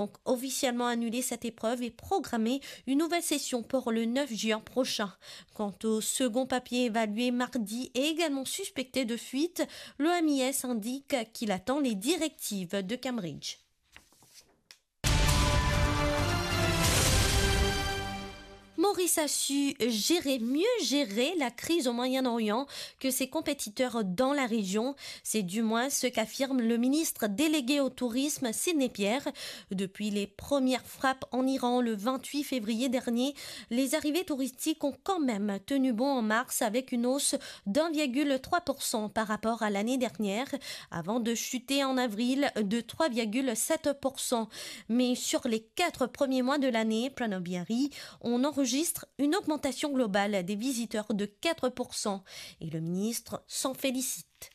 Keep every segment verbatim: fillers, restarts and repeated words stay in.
donc officiellement annulé cette épreuve et programmé une nouvelle session pour le neuf juin prochain. Quant au second papier évalué mardi et également suspecté de fuite, l'O M I S indique qu'il attend les directives de Cambridge. Maurice a su gérer, mieux gérer la crise au Moyen-Orient que ses compétiteurs dans la région. C'est du moins ce qu'affirme le ministre délégué au tourisme, Sidney Pierre. Depuis les premières frappes en Iran le vingt-huit février dernier, les arrivées touristiques ont quand même tenu bon en mars avec une hausse d'un virgule trois pour cent par rapport à l'année dernière, avant de chuter en avril de trois virgule sept pour cent. Mais sur les quatre premiers mois de l'année, Pranav Bihari, on enregistre une augmentation globale des visiteurs de quatre pour cent et le ministre s'en félicite.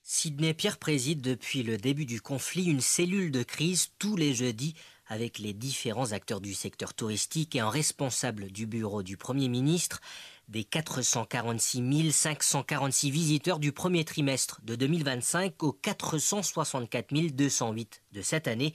Sidney Pierre préside depuis le début du conflit une cellule de crise tous les jeudis avec les différents acteurs du secteur touristique et un responsable du bureau du Premier ministre. Des quatre cent quarante-six mille cinq cent quarante-six visiteurs du premier trimestre de deux mille vingt-cinq aux quatre cent soixante-quatre mille deux cent huit de cette année,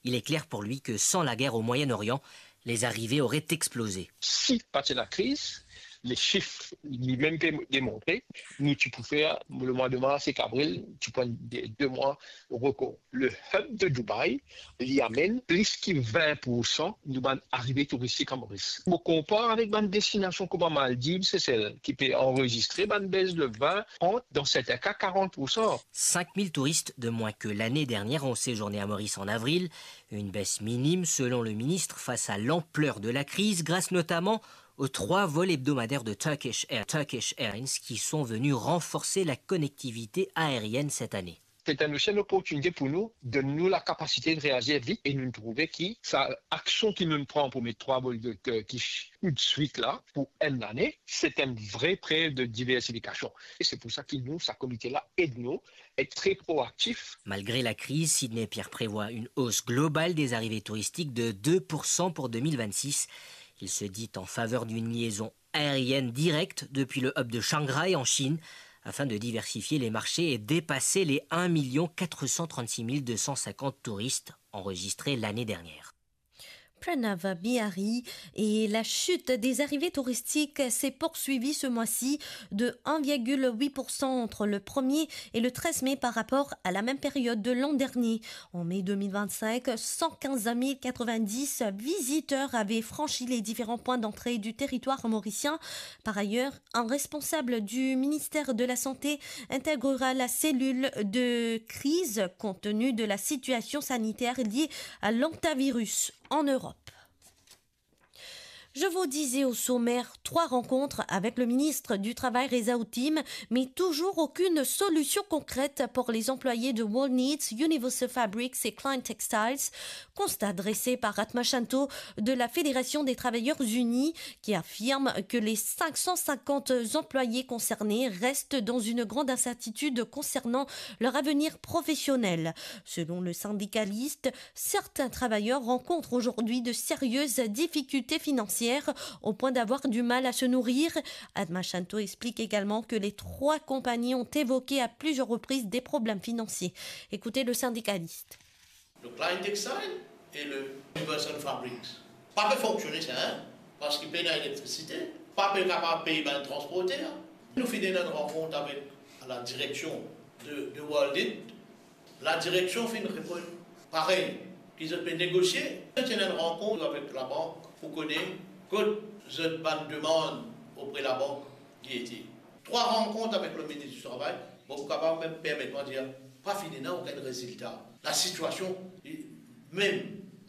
il est clair pour lui que sans la guerre au Moyen-Orient, les arrivées auraient explosé. Si pa ti ena kriz, le sif li mem pe demontre, nou ti pou fer le mwa de mars ek avril, ti pou enn de, de mwa rekor. Le hub de Dubaï, li amenn plis ki vin pour san nou bann arive touristik an Moris. Mo konpar avek bann destinasion kouma Maldiv, Sesel, ki pe anrezistre bann bes de vin, trant, dan sertin ka karant pour san. Cinq mille touristes de moins que l'année dernière ont séjourné à Maurice en avril, une baisse minime selon le ministre face à l'ampleur de la crise, grâce notamment aux trois vols hebdomadaires de Turkish Air-, Turkish Airlines qui sont venus renforcer la connectivité aérienne cette année. C'est aussi une opportunité pour nous de nous la capacité de réagir vite et nou trouve ki sa aksion ki nou pran pour met trois vols de Turkish tout de suite là, pour une année, c'est une vraie preuve de diversification. Et c'est pour ça que nous, sa komite la, aide nou être très proactif. Malgré la crise, Sidney Pierre prévoit une hausse globale des arrivées touristiques de deux pour cent pour deux mille vingt-six. Il se dit en faveur d'une liaison aérienne directe depuis le hub de Shanghai en Chine, afin de diversifier les marchés et dépasser les un million quatre cent trente-six mille deux cent cinquante touristes enregistrés l'année dernière. Pranav Bihari. Et la chute des arrivées touristiques s'est poursuivie ce mois-ci de un virgule huit pour cent entre le premier et le treize mai par rapport à la même période de l'an dernier. En mai deux mille vingt-cinq, cent quinze mille quatre-vingt-dix visiteurs avaient franchi les différents points d'entrée du territoire mauricien. Par ailleurs, un responsable du ministère de la Santé intégrera la cellule de crise compte tenu de la situation sanitaire liée à l'hantavirus en Europe. Je vous disais au sommaire, trois rencontres avec le ministre du Travail, Reza Houtime, mais toujours aucune solution concrète pour les employés de World Needs, Universal Fabrics et Klein Textiles. Constat dressé par Atma Shanto de la Fédération des Travailleurs Unis, qui affirme que les cinq cent cinquante employés concernés restent dans une grande incertitude concernant leur avenir professionnel. Selon le syndicaliste, certains travailleurs rencontrent aujourd'hui de sérieuses difficultés financières au point d'avoir du mal à se nourrir. Atma Shanto explique également que les trois compagnies ont évoqué à plusieurs reprises des problèmes financiers. Écoutez le syndicaliste. Le Klein Textile et le Universal Fabrics. Pa pe fonksione sa, hein, parski pena elektrisite, pa pe kapav pey bann transporter. Nou finn ena enn rankont avek la direksion de, de World It. La direksion finn reponn parey, ki zot pe negosie. Zot ena enn rankont avek labank pou kone kot zot bann demann opre labank li ete. Trwa rankont avek le minis di travay, bon, pou kapav mem permet mwa dir, pa finn ena okenn rezilta. Lasitiasion, mem,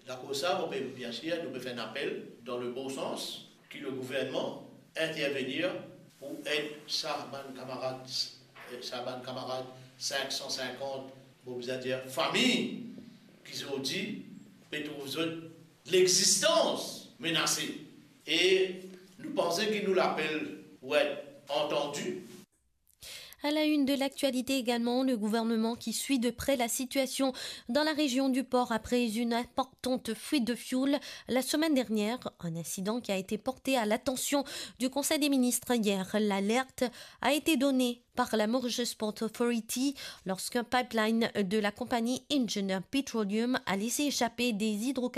akoz sa, mo pe, biensir, nou pe fer enn apel dan le bon sans, ki le gouvernman intervenir pou ed sa bann kamarad, eh, sa bann kamarad sink san sinkant, mo bizin dir, fami, ki zordi pe trouv zot lexistans menase. E nou panse ki nou lapel pou et antandi. À la une de l'actualité également, le gouvernement qui suit de près la situation dans la région du Port après une importante fuite de fioul la semaine dernière, un incident qui a été porté à l'attention du Conseil des ministres hier. L'alerte a été donnée par la Mauritius Port Authority lorsqu'un pipeline de la compagnie Engineer Petroleum a laissé échapper des hydrocarbures